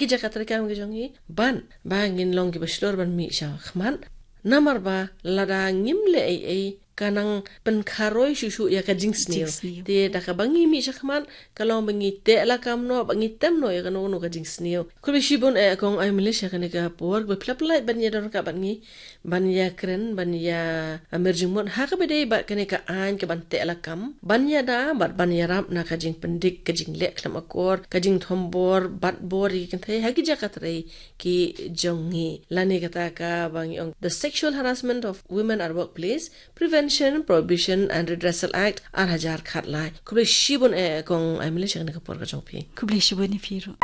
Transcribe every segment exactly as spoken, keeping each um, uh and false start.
ki jaka treikam ki jong ngi, ban ba ngin long kiba shlur ban mih sha khmat. Namar ba lada ngim leh ei ei, ka nang pynkharoi shuh shuh ïa ka jingsniew. Jingsniew. Te da kaba ngi mih sha khmat, ka long ba ngi teh lakam noh, ba ngi tem noh ïa kano kano ka jingsniew. Khublei shibun eh kong Aimilish ïa kane ka por ba phi la pynlait ban ïadon ryngkat bad ngi, ban ïakren, ban ïa, ah, mir jingmut ha kaba ïadei bad kane ka aiñ kaban teh lakam, ban ïada bad ban ïarap na ka jingpyndik, ka jingleh khlem akor, ka jingthombor bad bor ïa ki kynthei ha ki jaka trei ki jong ngi. Lane kata kaba ngi ong The Sexual Harassment of Women at Workplace, Prevention, Prohibition and Redressal Act ar hajar khatlai. Khublei shibun eh kong Aimilish ïa kane ka por ka jong phi. Khublei shibun ïa phi ruh.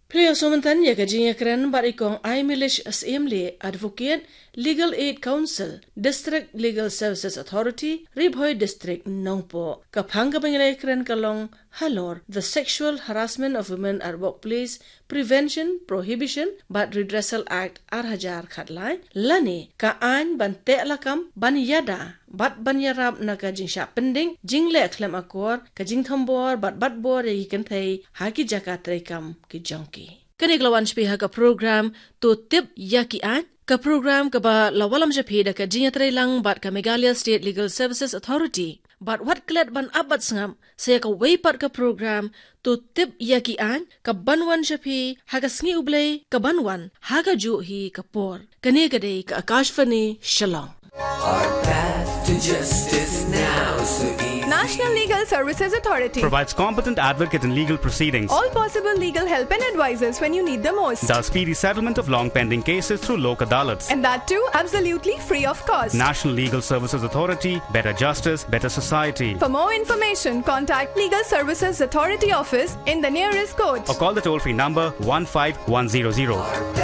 Phi la ïohsngew mynta ïa ka jingïakren bad i kong Aimilish Syiemlieh, Advocate, Legal Aid Counsel, District Legal Services Authority, Ri Bhoi District, Nongpoh. Ka phang kaba ngi la ïakren ka long halor The Sexual Harassment of Women at Workplace, Prevention, Prohibition bad Redressal Act ar hajar khatlai, lane ka aiñ ban teh lakam, ban ïada bad ban ïarap na ka jingshah pyndik, jingleh khlem akor, ka jingthombor bad bad bor ïa ki kynthei ha ki jaka treikam ki jong ki. Kane ka la wan sha phi ha ka program To Tip ïa ki Aiñ, ka program kaba la wallam sha phi da ka jingïatreilang bad ka Meghalaya State Legal Services Authority. Bad wat klet ban ap bad sngap, sa ïa kawei pat ka program To Tip ïa ki Aiñ kaban wan sha phi ha ka sngi U Blei kaban wan, ha kajuh hi ka por. Kane ka dei ka Akashvani Shillong. Our path to justice now so easy. National Legal Services Authority provides competent advocate in legal proceedings. All possible legal help and advices when you need the most. Does speedy settlement of long pending cases through Lok Adalats. And that too absolutely free of cost. National Legal Services Authority, better justice, better society. For more information, contact Legal Services Authority office in the nearest court. Or call the toll-free number one five one zero zero.